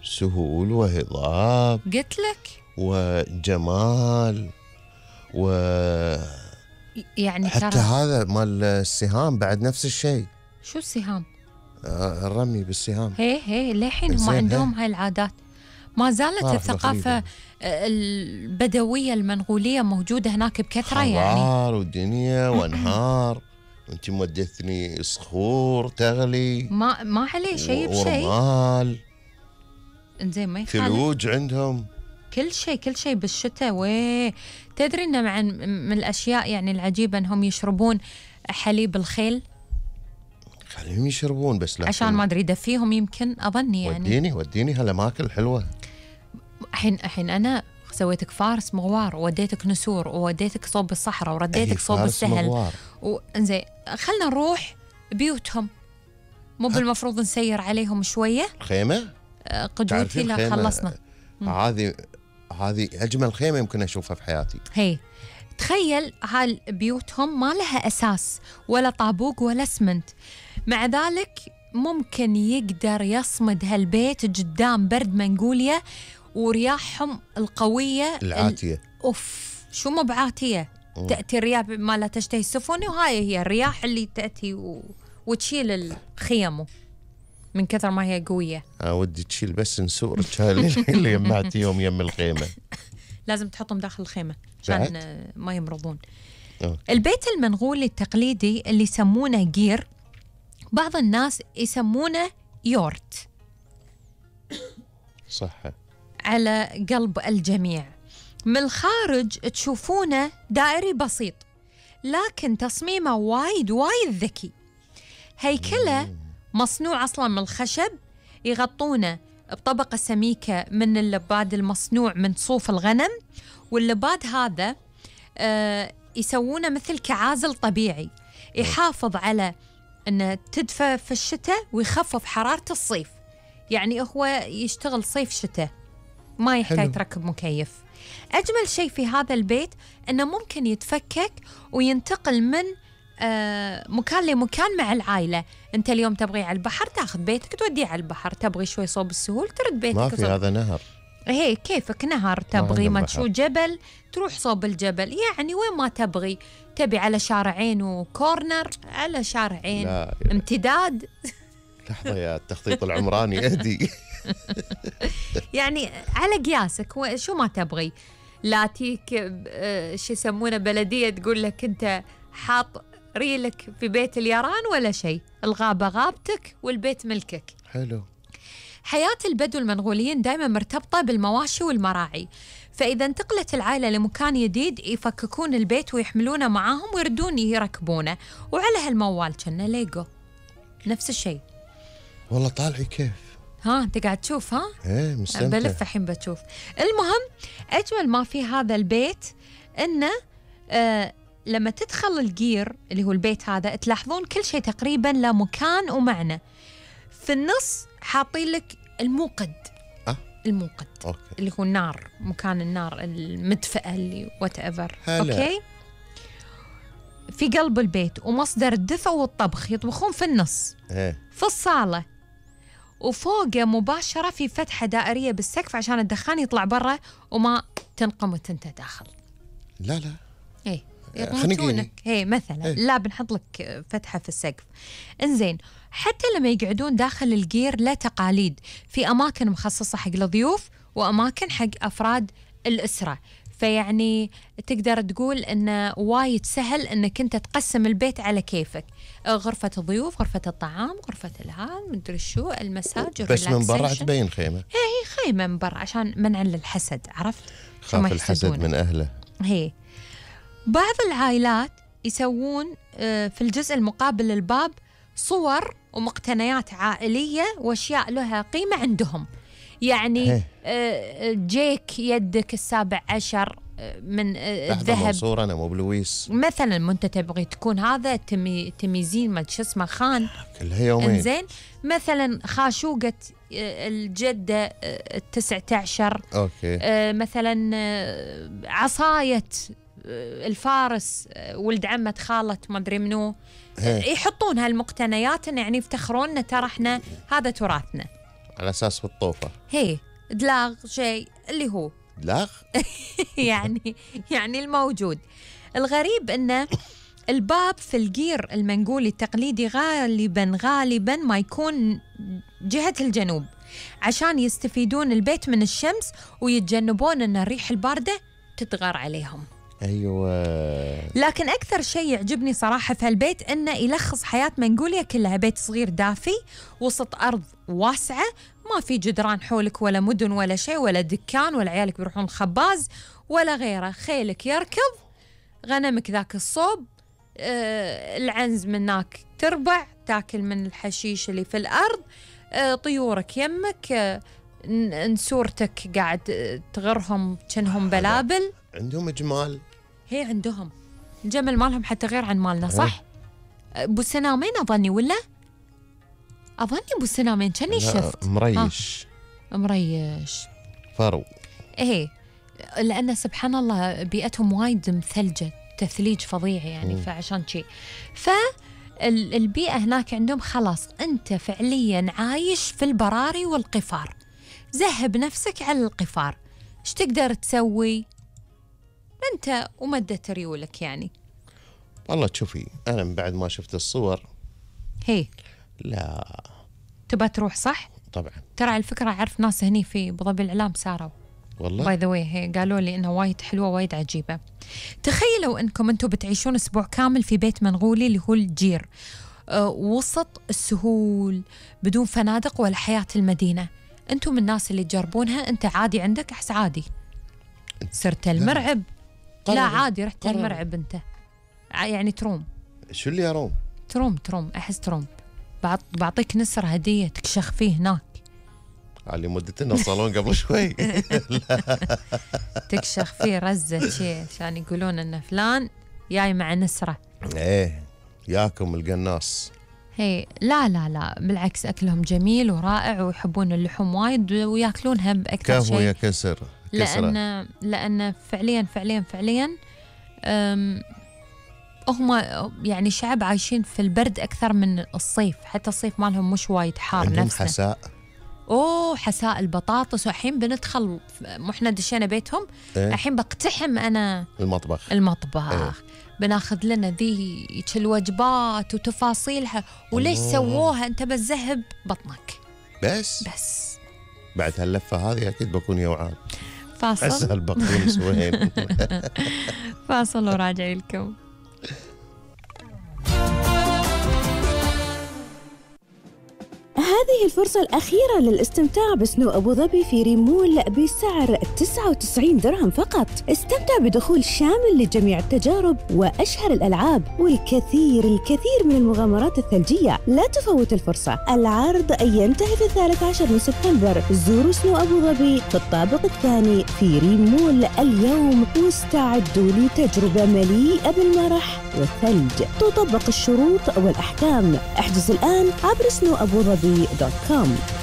سهول وهضاب قلت لك وجمال يعني حتى ترى هذا مال السهام بعد نفس الشيء. شو السهام؟ الرمي بالسهام. هي للحين هم زين، عندهم هاي العادات. ما زالت ما أعرف الثقافة الغريبة. البدوية المنغولية موجودة هناك بكثرة يعني. خضار ودنيا وانهار وانت مودتني صخور تغلي ما عليه شيء بشيء. ورمال انزين ما يخالف. ثلوج عندهم كل شيء بالشتاء. تدري إن من الأشياء يعني العجيبة إنهم يشربون حليب الخيل خليهم يشربون بس لا عشان ما أدري يدفيهم يمكن أظني يعني. وديني هالأماكن حلوة. الحين أنا سويتك فارس مغوار ووديتك نسور ووديتك صوب الصحراء ورديتك صوب السهل وانزين خلنا نروح بيوتهم. مو بالمفروض نسير عليهم شوية؟ خيمة قدوتي لا خلصنا. هذه أجمل خيمة يمكن أشوفها في حياتي. هي تخيل هالبيوتهم ما لها أساس ولا طابوق ولا اسمنت، مع ذلك ممكن يقدر يصمد هالبيت قدام برد منغوليا ورياحهم القوية العاتية. شو مو بعاتية، تأتي الرياح ما لا تشتهي السفن، وهاي هي الرياح اللي تأتي وتشيل الخيم من كثر ما هي قوية. ودي تشيل بس نسورك اللي يمعتيهم يم الخيمة. لازم تحطهم داخل الخيمة عشان ما يمرضون. البيت المنغولي التقليدي اللي يسمونه جير، بعض الناس يسمونه يورت. صح على قلب الجميع. من الخارج تشوفونه دائري بسيط، لكن تصميمه وايد ذكي. هيكله مصنوع أصلا من الخشب، يغطونه بطبقة سميكة من اللباد المصنوع من صوف الغنم، واللباد هذا يسوونه مثل كعازل طبيعي يحافظ على أنه تدفى في الشتاء ويخفف حرارة الصيف. يعني هو يشتغل صيف شتاء، ما يحتاج تركب مكيف. أجمل شيء في هذا البيت أنه ممكن يتفكك وينتقل من مكان لمكان مع العائلة. أنت اليوم تبغي على البحر تاخذ بيتك توديه على البحر، تبغي شوي صوب السهول ترد بيتك. ما في هذا نهر. هي كيفك نهر، تبغي ما تشوف جبل تروح صوب الجبل، يعني وين ما تبغي. تبي على شارعين وكورنر، على شارعين امتداد. لحظة يا التخطيط العمراني أهدي. يعني على قياسك شو ما تبغي. لا تيك شو يسمونه بلدية تقول لك أنت حاط ريلك في بيت اليران ولا شيء، الغابة غابتك والبيت ملكك. حلو. حياة البدو المنغوليين دائما مرتبطة بالمواشي والمراعي، فإذا انتقلت العائلة لمكان جديد يفككون البيت ويحملونه معاهم ويردون يركبونه، وعلى هالموال كنا ليجو نفس الشيء. والله طالعي كيف. أنت قاعد تشوف؟ ايه مستمتع. بلف الحين بتشوف. المهم أجمل ما في هذا البيت إنه لما تدخل الجير اللي هو البيت هذا تلاحظون كل شيء تقريبا له مكان ومعنى. في النص حاطين لك الموقد. الموقد أوكي. اللي هو النار، مكان النار المدفئة اللي whatever. أوكي. في قلب البيت ومصدر الدفء والطبخ يطبخون في النص. في الصالة، وفوقه مباشرة في فتحة دائرية بالسقف عشان الدخان يطلع برا وما تنقمت انت داخل. لا ايه يطمتونك. مثلا لا بنحط لك فتحة في السقف. انزين حتى لما يقعدون داخل الجير له تقاليد، في أماكن مخصصة حق الضيوف وأماكن حق أفراد الأسرة، فيعني تقدر تقول إنه وايد سهل إنك أنت تقسم البيت على كيفك. غرفة الضيوف، غرفة الطعام، غرفة الهام، مدري شو، المساج، بس من برا تبين خيمة. هي خيمة من برا عشان منع للحسد، عرفت؟ خاف الحسد من أهله. هي بعض العائلات يسوون في الجزء المقابل للباب صور ومقتنيات عائلية وأشياء لها قيمة عندهم. يعني جيك يدك 17 من الذهب. صورة أنا مو بلويس مثلا ما أنت تبغي تكون هذا تميزين ما شو اسمه خان كلها يومين. إنزين مثلا خاشوقة الجدة 19. أوكي. مثلا عصاية الفارس ولد عمة خالة ما أدري منو، يحطون هالمقتنيات يعني يفتخرون ترى احنا هذا تراثنا. على أساس بالطوفة. هي دلاغ شيء اللي هو دلاغ يعني الموجود. الغريب أنه الباب في الجير المنقولي التقليدي غالبا ما يكون جهة الجنوب، عشان يستفيدون البيت من الشمس ويتجنبون أن الريح الباردة تتغار عليهم. أيوة. لكن أكثر شيء يعجبني صراحة في هالبيت إنه يلخص حياة منغوليا كلها. بيت صغير دافي وسط أرض واسعة، ما في جدران حولك ولا مدن ولا شيء ولا دكان ولا عيالك بيروحون الخباز ولا غيره. خيلك يركض، غنمك ذاك الصوب، العنز منك تربع تاكل من الحشيش اللي في الأرض، طيورك يمك، نسورتك قاعد تغرهم كأنهم بلابل. عندهم جمال. هي عندهم الجمل مالهم حتى غير عن مالنا صح؟ أبو سنامين أظني ولا؟ أظني أبو سنامين كأني شفت مريش فرو. إيه، لأن سبحان الله بيئتهم وايد مثلجة، تثليج فظيع يعني. فعشان شيء فالبيئة هناك عندهم خلاص أنت فعليا عايش في البراري والقفار، ذهب نفسك على القفار، إيش تقدر تسوي أنت ومدة ريولك يعني. والله تشوفي أنا من بعد ما شفت الصور هي لا تبى تروح صح؟ طبعا. ترى على الفكرة أعرف ناس هني في أبو ظبي الإعلام ساروا والله باي ذا واي، هي قالوا لي إنها وايد حلوة وايد عجيبة. تخيلوا إنكم أنتم بتعيشون أسبوع كامل في بيت منغولي اللي هو الجير، وسط السهول بدون فنادق ولا حياة المدينة. أنتم من الناس اللي تجربونها. أنت عادي عندك أحس عادي صرت المرعب؟ لا عادي رحت المرعب أنت يعني تروم. شو اللي يروم؟ تروم أحس تروم. بعطيك نسر هدية تكشخ فيه هناك على مدتنا الصالون قبل شوي. تكشخ فيه رزة شيء عشان يقولون إن فلان جاي مع نسرة. إيه ياكم القناص. هي لا بالعكس أكلهم جميل ورائع ويحبون اللحوم وايد وياكلونها بأكثر شيء. كهو يا كسر لأن فعليا هم يعني شعب عايشين في البرد أكثر من الصيف، حتى الصيف مالهم مش وايد حار. عندهم نفسه حساء. حساء البطاطس. وحين بندخل احنا دشينا بيتهم. الحين بقتحم أنا المطبخ. بناخذ لنا ذي الوجبات وتفاصيلها وليش سووها. أنت بتذهب بطنك بس بعد هاللفة هذه أكيد بكون يوعان. فاصل. أسهل بقدونس وين. فاصل وراجع لكم. هذه الفرصة الأخيرة للاستمتاع بسنو أبو ظبي في ريمول بسعر 99 درهم فقط. استمتع بدخول شامل لجميع التجارب وأشهر الألعاب والكثير من المغامرات الثلجية. لا تفوت الفرصة. العرض ينتهي في 13 من سبتمبر. زوروا سنو أبو ظبي في الطابق الثاني في ريمول اليوم واستعدوا لتجربة مليئة بالمرح والثلج. تطبق الشروط والأحكام. احجز الآن عبر snowabuظبي.com.